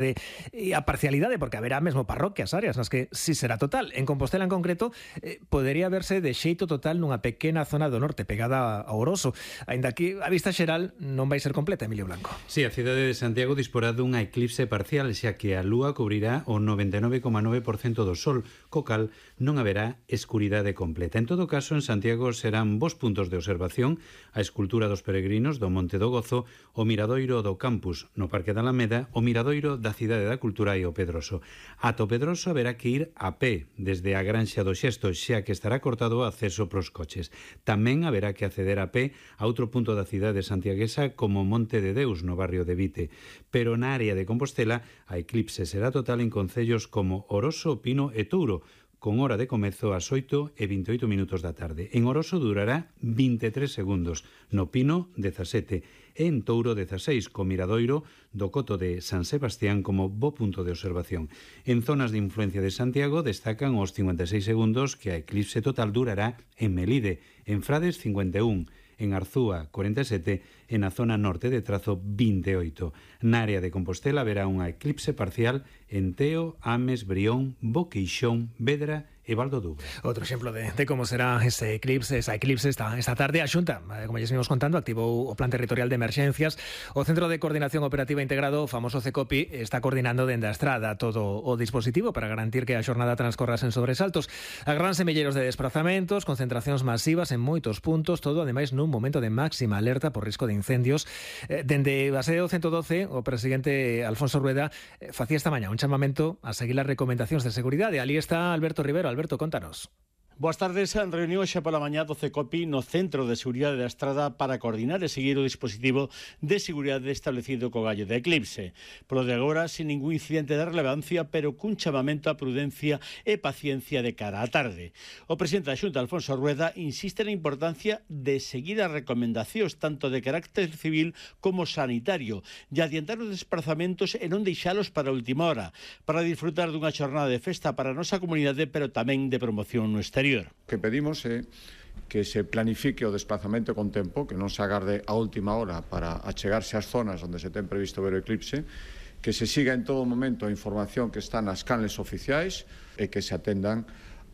e a parcialidade, porque haberá mesmo parroquias, áreas nas que si será total. En Compostela en concreto podería verse de xeito total nunha pequena zona do norte pegada a Oroso, aínda que a vista xeral non vai ser completa, Emilio Blanco. Sí, a cidade de Santiago disporá dunha eclipse parcial, xa que a lúa cubrirá o 99,9% do sol, co cal non haberá escuridade completa. En todo caso, en Santiago serán vos puntos de observación a escultura dos peregrinos do Monte do Gozo, o miradoiro do campus no Parque da Alameda, o miradoiro da Cidade da Cultura e o Pedroso. Ata o Pedroso haberá que ir a pé desde a Granxa do Xesto, xa que estará cortado o acceso pros coches. Tamén haberá que acceder a pé a outro punto da cidade santiaguesa como Monte de Deus, no barrio de Vite. Pero na área de Compostela a eclipse será total en concellos como Oroso, Pino e Touro, con hora de comezo ás 8:28 da tarde. En Oroso durará 23 segundos, no Pino 17 e en Touro 16, co miradoiro do Coto de San Sebastián como bo punto de observación. En zonas de influencia de Santiago destacan os 56 segundos que a eclipse total durará en Melide, en Frades 51, en Arzúa 47 e na zona norte de Trazo 28. Na área de Compostela haberá unha eclipse parcial en Teo, Ames, Brión, Boqueixón, Vedra e Val do Dubre. Outro exemplo de como será esa eclipse esta tarde. A Xunta, como ya vimos contando, activou o Plan Territorial de Emerxencias. O Centro de Coordinación Operativa Integrado, o famoso CECOPI, está coordinando dende a estrada todo o dispositivo para garantir que a xornada transcorra sen sobresaltos. Agranse milleiros de desplazamentos, concentracións masivas en moitos puntos, todo ademais nun momento de máxima alerta por risco de incendios. Dende a sede do 112, o presidente Alfonso Rueda facía esta mañá un chamamento a seguir as recomendacións de seguridade. Ali está Alberto Rivero. Alberto, contanos. Boas tardes. Reunión xa pola mañá do CECOPI no Centro de Seguridade da Estrada para coordinar e seguir o dispositivo de seguridade establecido co gallo de eclipse. Polo de agora, sin ningún incidente de relevancia, pero cun chamamento a prudencia e paciencia de cara á tarde. O presidente da Xunta, Alfonso Rueda, insiste na importancia de seguir as recomendacións tanto de carácter civil como sanitario e adiantar os desplazamentos e non deixalos para a última hora, para disfrutar dunha xornada de festa para a nosa comunidade, pero tamén de promoción no exterior. O que pedimos é que se planifique o desplazamento con tempo, que non se agarde a última hora para achegarse ás zonas onde se ten previsto ver o eclipse, que se siga en todo momento a información que está nas canles oficiais e que se atendan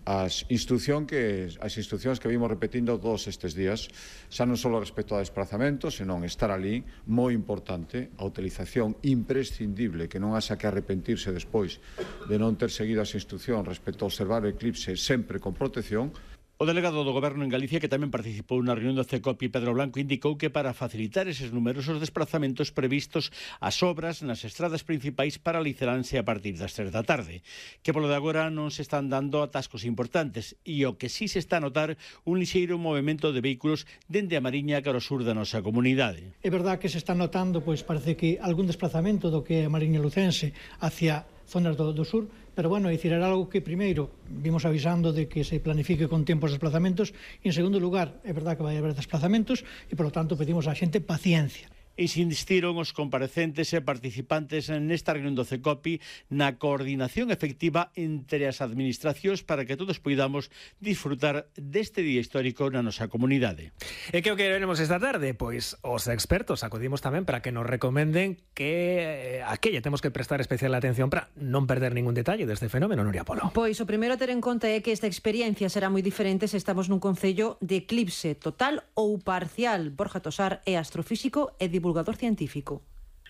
as instruccións que vimos repetindo todos estes días, xa non só respecto ao desplazamento, senón estar ali, moi importante, a utilización imprescindible, que non haxa que arrepentirse despois de non ter seguido as instruccións respecto a observar o eclipse sempre con protección. O delegado do Goberno en Galicia, que tamén participou na reunión do CECOPI, Pedro Blanco, indicou que para facilitar eses numerosos desplazamentos previstos, as obras nas estradas principais paralizaránse a partir das 3 da tarde, que polo de agora non se están dando atascos importantes e o que sí se está a notar un lixeiro movimento de vehículos dende a Mariña cara ao sur da nosa comunidade. É verdad que se está notando, pois parece que algún desplazamento do que é a Mariña Lucense hacia zonas do sur, pero bueno, dicir, era algo que primeiro vimos avisando de que se planifique con tempo os desplazamentos e en segundo lugar, é verdad que vai haber desplazamentos e polo tanto pedimos á xente paciencia. E se insistiron os comparecentes e participantes nesta reunión do CECOPI na coordinación efectiva entre as administracións para que todos poidamos disfrutar deste día histórico na nosa comunidade. E que o que veremos esta tarde? Pois os expertos acudimos tamén para que nos recomenden que a que lle temos que prestar especial atención para non perder ningún detalle deste fenómeno, Nuria Polo. Pois o primeiro a ter en conta é que esta experiencia será moi diferente se estamos nun concello de eclipse total ou parcial. Borja Tosar é astrofísico e divulgador científico.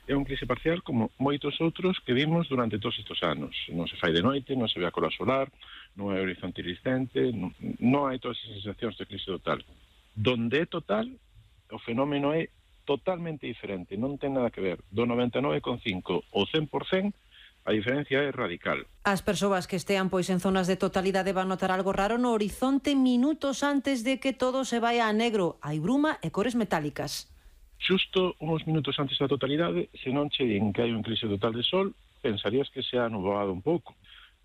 É un eclipse parcial como moitos outros que vimos durante todos estes anos. Non se fai de noite, non se ve a coroa solar, non hai horizonte iriscente, non hai todas as sensacións de eclipse total. Donde é total, o fenómeno é totalmente diferente, non ten nada que ver. Do 99,5 ao 100%, a diferencia é radical. As persoas que estean pois en zonas de totalidade van notar algo raro no horizonte minutos antes de que todo se vaya a negro. Hai bruma e cores metálicas. Xusto uns minutos antes da totalidade, se non che din que hai un eclipse total de sol, pensarías que se ha nublado un pouco.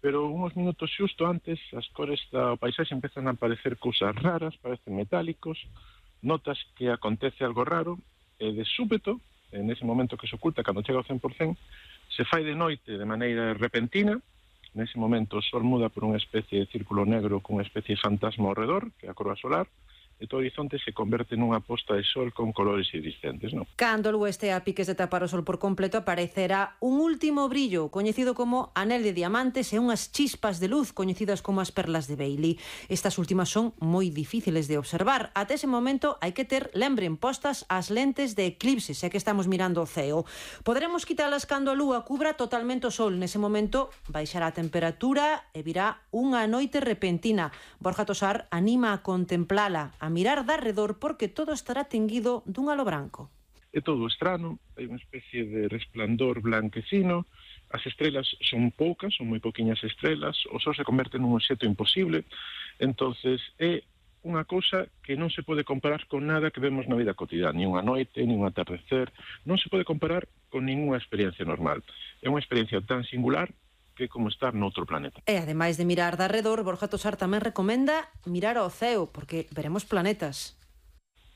Pero uns minutos xusto antes, as cores do paisaxe empezan a aparecer cousas raras, parecen metálicos, notas que acontece algo raro, e de súpeto, en ese momento que se oculta, cando chega ao 100%, se fai de noite de maneira repentina. Nese momento o sol muda por unha especie de círculo negro con unha especie de fantasma ao redor, que é a coroa solar, e todo o horizonte se converte nunha posta de sol con colores iridiscentes, non? Cando o lúa este a piques de tapar o sol por completo, aparecerá un último brillo, coñecido como anel de diamantes, e unhas chispas de luz, coñecidas como as perlas de Bailey. Estas últimas son moi difíciles de observar. Até ese momento hai que ter, lembren, postas as lentes de eclipse, xa que estamos mirando o ceo. Poderemos quitalas cando a lúa cubra totalmente o sol. Nese momento baixará a temperatura e virá unha noite repentina. Borja Tosar anima a contemplala, a mirar de arredor, porque todo estará tinguido dun halo branco. É todo estrano, hai unha especie de resplandor blanquecino, as estrelas son poucas, son moi poquiñas estrelas, o sol se converte nun obxecto imposible, entonces é unha cousa que non se pode comparar con nada que vemos na vida cotidiana, ni unha noite, ni un atardecer, non se pode comparar con ninguna experiencia normal. É unha experiencia tan singular que como estar noutro planeta. E ademais de mirar de arredor, Borja Tosar tamén recomenda mirar ao ceo, porque veremos planetas.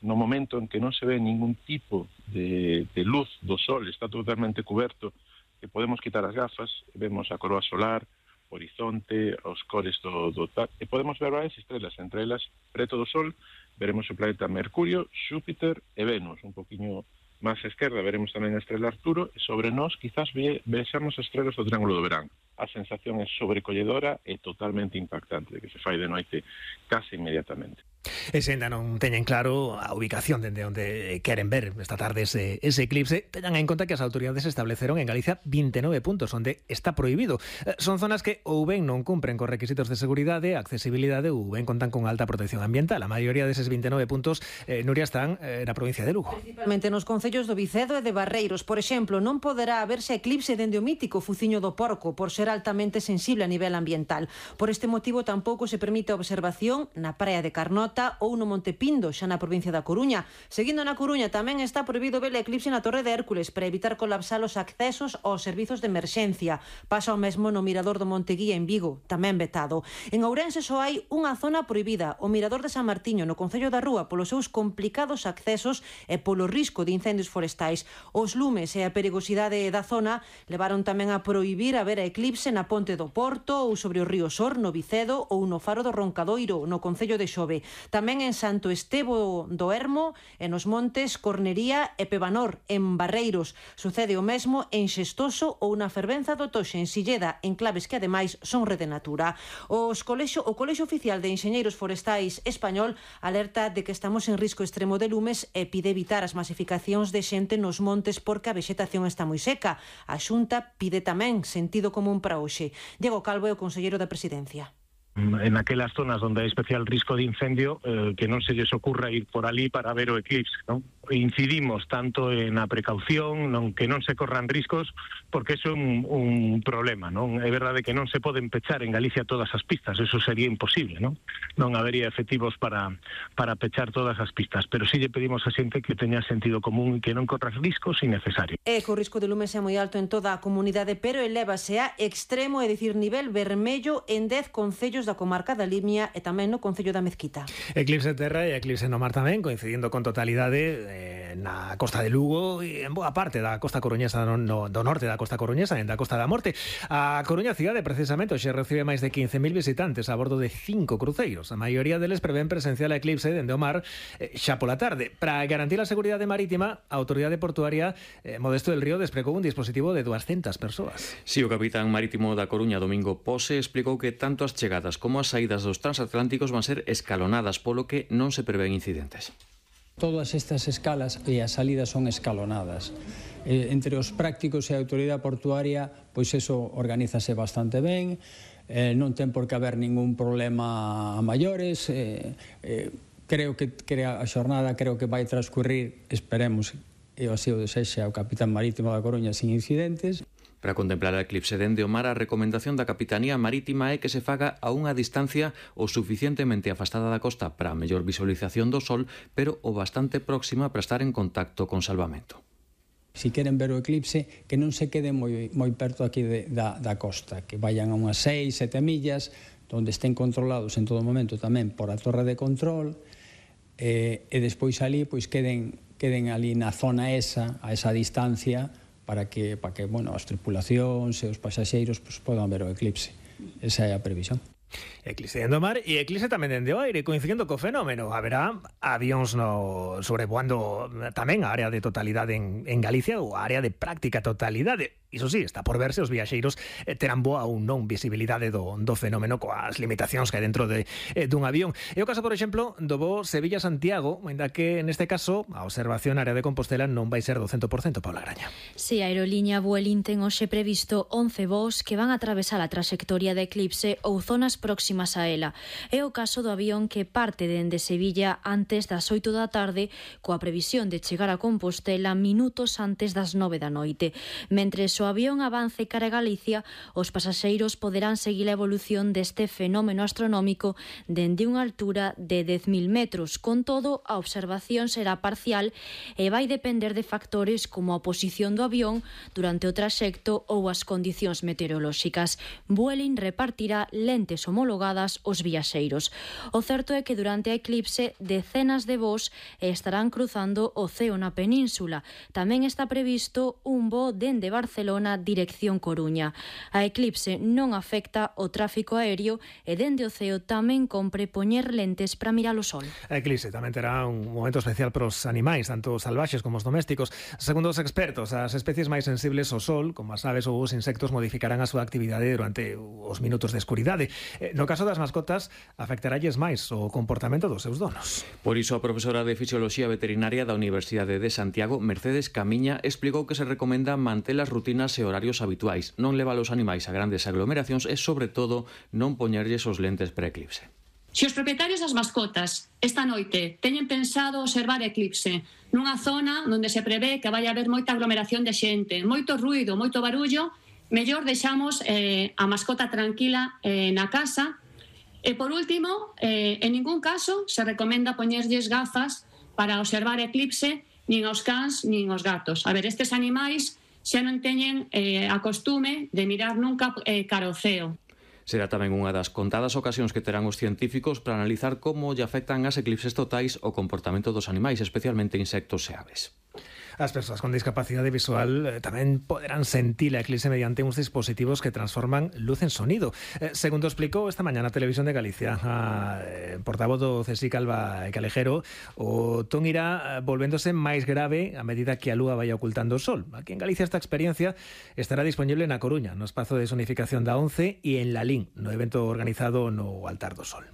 No momento en que non se ve ningún tipo de luz do sol, está totalmente coberto, que podemos quitar as gafas, vemos a coroa solar, o horizonte, os cores do tal, e podemos ver varias estrelas, entre elas, preto do sol, veremos o planeta Mercurio, Xúpiter e Venus, un poquinho máis á esquerda veremos tamén a estrela Arturo, e sobre nós quizás vexamos as estrelas do Triángulo do Verán. A sensación é sobrecolledora e totalmente impactante, de que se fai de noite case inmediatamente. E se ainda non teñen claro a ubicación dende onde queren ver esta tarde ese eclipse, teñan en conta que as autoridades estableceron en Galicia 29 puntos onde está prohibido. Son zonas que ou ben non cumpren con requisitos de seguridade, accesibilidade ou ben contan con alta protección ambiental. A maioría deses 29 puntos, Nuria, están na provincia de Lugo. Principalmente nos concellos do Vicedo e de Barreiros. Por exemplo, non poderá haberse eclipse dende o mítico Fuciño do Porco por ser altamente sensible a nivel ambiental. Por este motivo tampouco se permite a observación na praia de Carnota ou no Monte Pindo, xa na provincia da Coruña. Seguindo na Coruña, tamén está prohibido ver o eclipse na Torre de Hércules para evitar colapsar os accesos aos servizos de emerxencia. Pasa o mesmo no Mirador do Monte Guía en Vigo, tamén vetado. En Ourense só hai unha zona prohibida, o Mirador de San Martiño, no Concello da Rúa, polos seus complicados accesos e polo risco de incendios forestais. Os lumes e a perigosidade da zona levaron tamén a prohibir a ver a eclipse na Ponte do Porto ou sobre o río Sor, no Vicedo, ou no Faro do Roncadoiro, no Concello de Xove. Tamén en Santo Estevo do Hermo, e nos montes Cornería e Pevanor, en Barreiros. Sucede o mesmo en Xestoso ou na Fervenza do Toxe, en Silleda, enclaves que ademais son rede natura. O Colexio Oficial de Enxeñeiros Forestais español alerta de que estamos en risco extremo de lumes e pide evitar as masificacións de xente nos montes porque a vexetación está moi seca. A Xunta pide tamén sentido común para hoxe. Diego Calvo é o conselleiro da Presidencia. En aquelas zonas donde hai especial risco de incendio, que non se lles ocurra ir por ali para ver o eclipse, non? Incidimos tanto en a precaución, que non se corran riscos, porque eso é un problema, non? É verdade que non se poden pechar en Galicia todas as pistas, eso sería imposible, non? Non habería efectivos para pechar todas as pistas, pero sí lle pedimos a xente que teña sentido común e que non corra riscos innecesarios. É que o risco de lumes é moi alto en toda a comunidade, pero elévase a extremo, é dicir, nivel vermello en 10 concellos da comarca da Limia e tamén no concello da Mezquita. Eclipse de terra e eclipse no mar tamén, coincidindo con totalidade na costa de Lugo e en boa parte da costa coruñesa do norte da costa coruñesa e da Costa da Morte. A Coruña cidade, precisamente, hoxe recibe máis de 15.000 visitantes a bordo de 5 cruceiros. A maioría deles prevén presencial a eclipse dende o mar xa pola tarde. Para garantir a seguridade marítima, a autoridade portuaria Modesto del Río despregou un dispositivo de 200 persoas. Si, o capitán marítimo da Coruña, Domingo Pose, explicou que tanto as chegadas como as saídas dos transatlánticos van ser escalonadas, polo que non se prevén incidentes. Todas estas escalas e as salidas son escalonadas. Entre os prácticos e a autoridade portuaria, pois eso organízase bastante ben, non ten por que haber ningún problema a maiores. Creo que a xornada vai transcurrir, esperemos, e así o desexa o capitán marítimo da Coruña, sin incidentes. Para contemplar a eclipse dende o mar, a recomendación da Capitanía Marítima é que se faga a unha distancia o suficientemente afastada da costa para a mellor visualización do sol, pero o bastante próxima para estar en contacto con salvamento. Si queren ver o eclipse, que non se queden moi perto aquí da costa, que vayan a unhas 6-7 millas, onde estén controlados en todo momento tamén por a torre de control, e despois ali pois queden ali na zona esa, a esa distancia, para que as tripulacións e os pasaxeiros podan ver o eclipse. Esa é a previsión. Eclipse dende o mar e eclipse tamén dende o aire, coincidindo co fenómeno. Haberá avións sobrevoando tamén a área de totalidade en Galicia ou a área de práctica totalidade. Iso sí, está por verse os viaxeiros terán boa ou non visibilidade do fenómeno coas limitacións que hai dentro dun avión. É o caso, por exemplo, do voo Sevilla-Santiago, ainda que neste caso a observación na área de Compostela non vai ser do 100%, Paula Graña. Si, a aerolínea Vueling ten hoxe previsto 11 voos que van a atravesar a traxectoria de eclipse ou zonas próximas a ela. É o caso do avión que parte dende Sevilla antes das 8 da tarde, coa previsión de chegar a Compostela minutos antes das 9 da noite. Mentres o avión avance cara a Galicia, os pasaxeiros poderán seguir a evolución deste fenómeno astronómico dende unha altura de 10.000 metros. Con todo, a observación será parcial e vai depender de factores como a posición do avión durante o traxecto ou as condicións meteorolóxicas. Vueling repartirá lentes homologadas aos viaxeiros. O certo é que durante a eclipse decenas de voos estarán cruzando o ceo na península. Tamén está previsto un voo dende Barcelona dirección Coruña. A eclipse non afecta o tráfico aéreo e dende o ceo tamén compre poñer lentes para mirar o sol. A eclipse tamén terá un momento especial para os animais, tanto os salvaxes como os domésticos. Segundo os expertos, as especies máis sensibles ao sol, como as aves ou os insectos, modificarán a súa actividade durante os minutos de escuridade. No caso das mascotas, afectaralles máis o comportamento dos seus donos. Por iso, a profesora de Fisioloxía Veterinaria da Universidade de Santiago, Mercedes Camiña, explicou que se recomenda manter as rutinas e horarios habituais, non levar os animais a grandes aglomeracións e, sobre todo, non poñerlles os lentes pre-eclipse. Se os propietarios das mascotas esta noite teñen pensado observar eclipse nunha zona onde se prevé que vai haber moita aglomeración de xente, moito ruido, moito barullo, mellor deixamos a mascota tranquila na casa. E, por último, en ningún caso se recomenda poñerlles gafas para observar eclipse nin aos cans nin aos gatos. A ver, estes animais xa non teñen a costume de mirar nunca cara ao ceo. Será tamén unha das contadas ocasións que terán os científicos para analizar como lle afectan as eclipses totais o comportamento dos animais, especialmente insectos e aves. As persoas con discapacidade visual tamén poderán sentir a eclipse mediante uns dispositivos que transforman luz en sonido. Segundo explicou esta mañá na Televisión de Galicia a portavoz do CSIC, Alba Calejero, o ton irá volvéndose máis grave a medida que a lúa vai ocultando o sol. Aquí en Galicia esta experiencia estará disponible na Coruña, no espazo de sonificación da ONCE, e en Lalín, no evento organizado no Altar do Sol.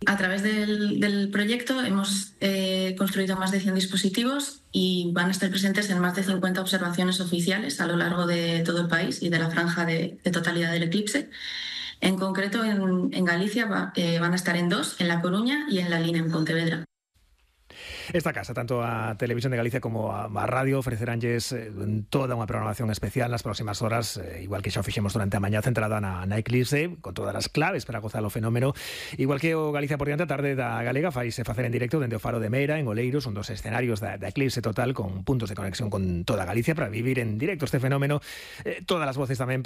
A través del proyecto hemos construido más de 100 dispositivos y van a estar presentes en más de 50 observaciones oficiales a lo largo de todo el país y de la franja de totalidad del eclipse. En concreto, en Galicia van a estar en 2, en La Coruña y en Lalín, en Pontevedra. Esta casa, tanto a Televisión de Galicia como a radio, ofreceránlles toda unha programación especial nas próximas horas, igual que xa fixemos durante a mañá, centrada na eclipse, con todas as claves para gozar o fenómeno. Igual que o Galicia por diante, a tarde da Galega faise facer en directo dende o Faro de Meira, en Oleiros, un dos escenarios da eclipse total, con puntos de conexión con toda Galicia para vivir en directo este fenómeno. Todas as voces tamén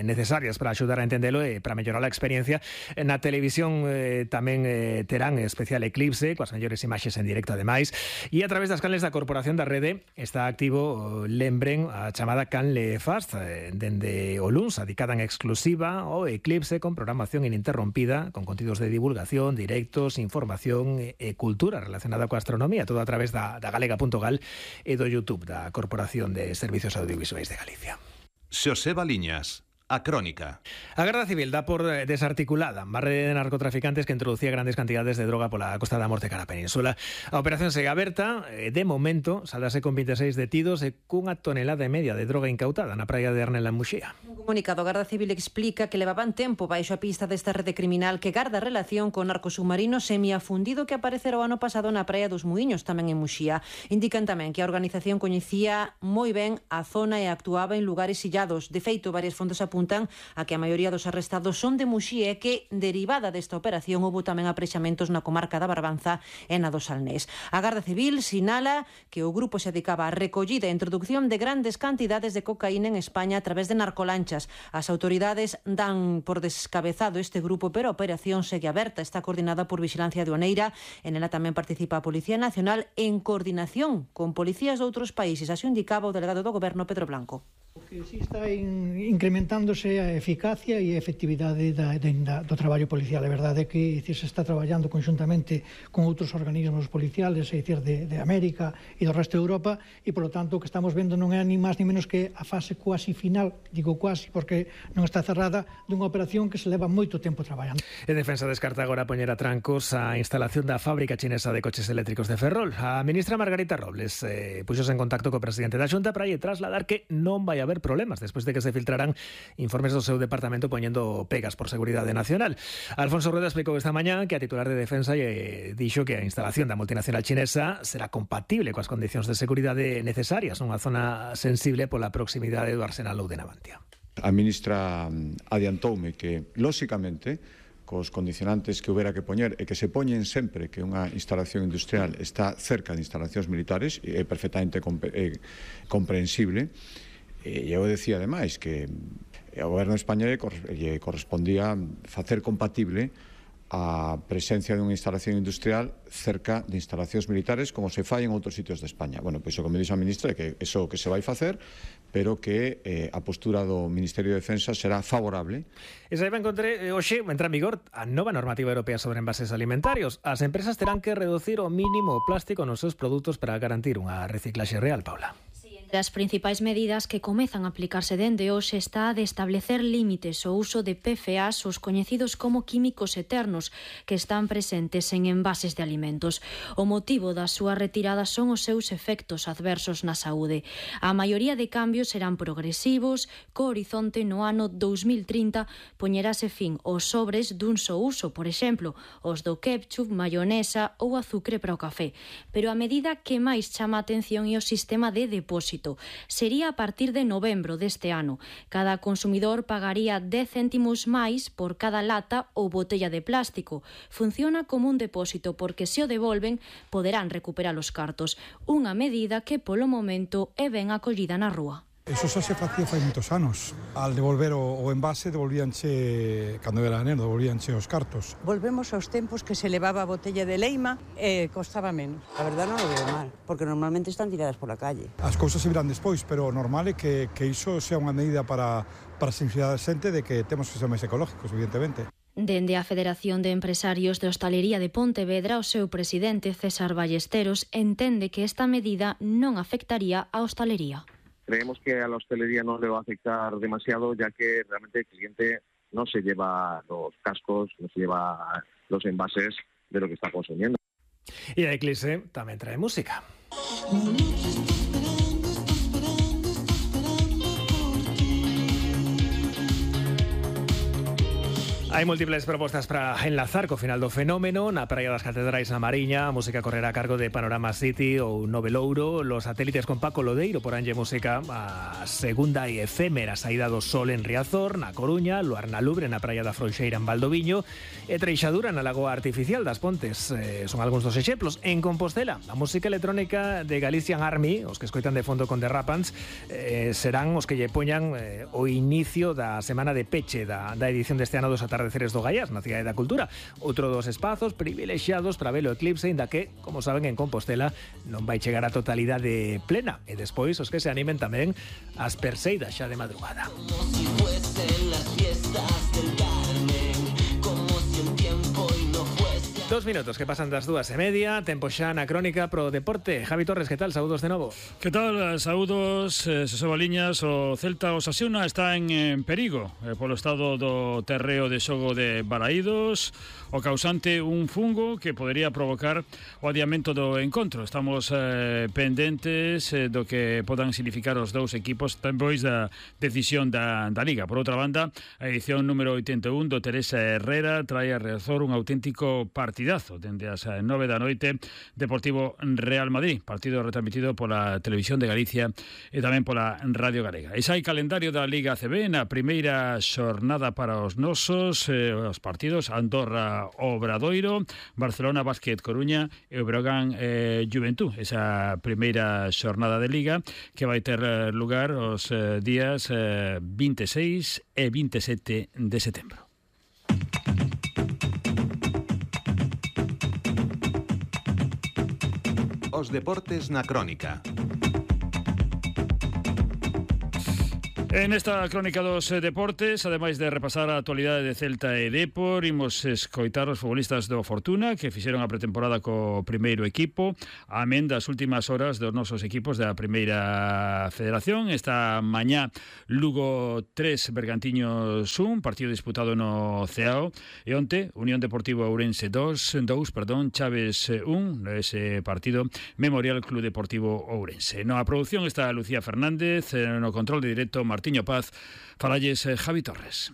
necesarias para axudar a entendelo e para mellorar a experiencia. Na televisión tamén terán especial eclipse, coas mellores imaxes en directo ademais. E a través das canles da Corporación da Rede está activo, lembren, a chamada Canle Fast, dende o luns, dedicada en exclusiva ao eclipse, con programación ininterrompida, con contidos de divulgación, directos, información e cultura relacionada coa astronomía, todo a través da galega.gal e do YouTube da Corporación de Servicios Audiovisuais de Galicia. Xoseba Liñas. A crónica. A Garda Civil dá por desarticulada má rede de narcotraficantes que introducía grandes cantidades de droga pola Costa da Morte cara a Península. A operación segue aberta, de momento saldase con 26 detidos e cunha tonelada e media de droga incautada na praia de Arnel en Muxía. Un comunicado, a Garda Civil explica que levaban tempo baixo a pista desta rede criminal que garda relación con narco submarino semiafundido que aparecera o ano pasado na praia dos Muiños, tamén en Muxía. Indican tamén que a organización coñecía moi ben a zona e actuaba en lugares illados. De feito, varias fontes apuntan a que a maioría dos arrestados son de Muxía e que, derivada desta operación, houbo tamén aprexamentos na comarca da Barbanza e na do Salnés. A Garda Civil sinala que o grupo se dedicaba a recollida e introducción de grandes cantidades de cocaína en España a través de narcolanchas. As autoridades dan por descabezado este grupo, pero a operación segue aberta. Está coordinada por Vixilancia Aduaneira. En ela tamén participa a Policía Nacional en coordinación con policías de outros países. Así indicaba o delegado do Goberno, Pedro Blanco. Que si está incrementándose a eficacia e a efectividade do traballo policial. É verdade que se está traballando conxuntamente con outros organismos policiales, é dicir, de América e do resto de Europa, e, polo tanto, o que estamos vendo non é ni máis ni menos que a fase cuasi final, digo cuasi porque non está cerrada, dunha operación que se leva moito tempo traballando. En Defensa descarta agora poñer a trancos a instalación da fábrica chinesa de coches eléctricos de Ferrol. A ministra Margarita Robles puxose en contacto co presidente da Xunta para lle trasladar que non vai haber problemas despois de que se filtraran informes do seu departamento poñendo pegas por seguridade nacional. Alfonso Rueda explicou esta mañá que a titular de Defensa dixo que a instalación da multinacional chinesa será compatible coas condicións de seguridade necesarias nunha zona sensible pola proximidade do Arsenal ou de Navantia. A ministra adiantoume que, lóxicamente, cos condicionantes que houbera que poñer e que se poñen sempre que unha instalación industrial está cerca de instalacións militares, é perfectamente comprensible. E eu decía, ademais, que ao goberno español lle correspondía facer compatible a presencia dunha instalación industrial cerca de instalacións militares como se fai en outros sitios de España. Bueno, pois o que me dixo a ministra é que iso que se vai facer, pero que a postura do Ministerio de Defensa será favorable. E saiba encontré, hoxe entra en vigor a nova normativa europea sobre envases alimentarios. As empresas terán que reducir o mínimo o plástico nos seus produtos para garantir unha reciclaxe real, Paula. As principais medidas que comezan a aplicarse dende hoxe está a de establecer límites ao uso de PFAs, os coñecidos como químicos eternos, que están presentes en envases de alimentos. O motivo da súa retirada son os seus efectos adversos na saúde. A maioría de cambios serán progresivos, co horizonte no ano 2030 poñerase fin aos sobres dun só uso, por exemplo, os do ketchup, mayonesa ou azucre para o café. Pero a medida que máis chama a atención é o sistema de depósito. Sería a partir de novembro deste ano. Cada consumidor pagaría 10 céntimos máis por cada lata ou botella de plástico. Funciona como un depósito porque se o devolven poderán recuperar os cartos. Unha medida que polo momento é ben acollida na rúa. Eso xa se facía fai moitos anos. Al devolver o envase, devolvíanche, cando era neno, devolvíanche os cartos. Volvemos aos tempos que se levaba a botella de leima e costaba menos. A verdad non o veo mal, porque normalmente están tiradas pola calle. As cousas se virán despois, pero normal é que iso sea unha medida para sensibilizar a xente de que temos que ser máis ecológicos, evidentemente. Dende a Federación de Empresarios de Hostalería de Pontevedra, o seu presidente, César Ballesteros, entende que esta medida non afectaría a hostalería. Creemos que a la hostelería no le va a afectar demasiado, ya que realmente el cliente no se lleva los cascos, no se lleva los envases de lo que está consumiendo. Y a Eclipse también trae música. Hai múltiples propostas para enlazar co final do fenómeno. Na Praia das Catedrais na Mariña, a música correrá a cargo de Panorama City ou Novelouro. Los satélites con Paco Lodeiro poranlle música a segunda e efémera saída do sol en Riazor, na Coruña, Luar na Lubre, na Praia da Frouxeira en Valdoviño e Treixadura na Lagoa Artificial das Pontes. Son algúns dos exemplos. En Compostela, a música electrónica de Galician Army, os que escoitan de fondo con The Rapans, serán os que lle poñan o inicio da semana de peche da edición deste ano dos Atardeceres do Gaiás, na Cidade da Cultura. Outro dos espazos privilexiados para ver o eclipse, inda que, como saben, en Compostela non vai chegar a totalidade plena. E despois os que se animen tamén as perseidas xa de madrugada. Como si fuesen las fiestas del Carmen, como si el tiempo y no fuese... 2 minutos que pasan das 2:30, tempo xa na crónica pro deporte. Javi Torres, que tal? Saúdos de novo. Que tal? Saúdos, Xoseba Liñas. O Celta Osasuna está en perigo polo estado do terreo de xogo de Balaídos, o causante un fungo que podería provocar o adiamento do encontro. Estamos pendentes do que podan significar os dous equipos despois da decisión da Liga. Por outra banda, a edición número 81 do Teresa Herrera trae a Riazor un auténtico partidazo dende as 9 da noite. Deportivo Real Madrid, partido retransmitido pola Televisión de Galicia e tamén pola Radio Galega. E xa hai calendario da Liga ACB na primeira xornada para os nosos, os partidos Andorra Obradoiro, Barcelona Basket Coruña e o Breogán Juventud. Esa primeira xornada de Liga que vai ter lugar os días 26 e 27 de setembro. Os deportes na crónica. En esta crónica dos deportes, ademais de repasar a actualidade de Celta e Depor, imos escoitar os futbolistas do Fortuna que fixeron a pretemporada co primeiro equipo, amén das últimas horas dos nosos equipos da Primeira Federación. Esta mañá Lugo 3, Bergantiños 1, partido disputado no Ceao, e onte Unión Deportivo Ourense 2, Chaves 1, ese partido Memorial Club Deportivo Ourense. Na produción está Lucía Fernández, no control de directo Martiño Paz, falalles Javi Torres.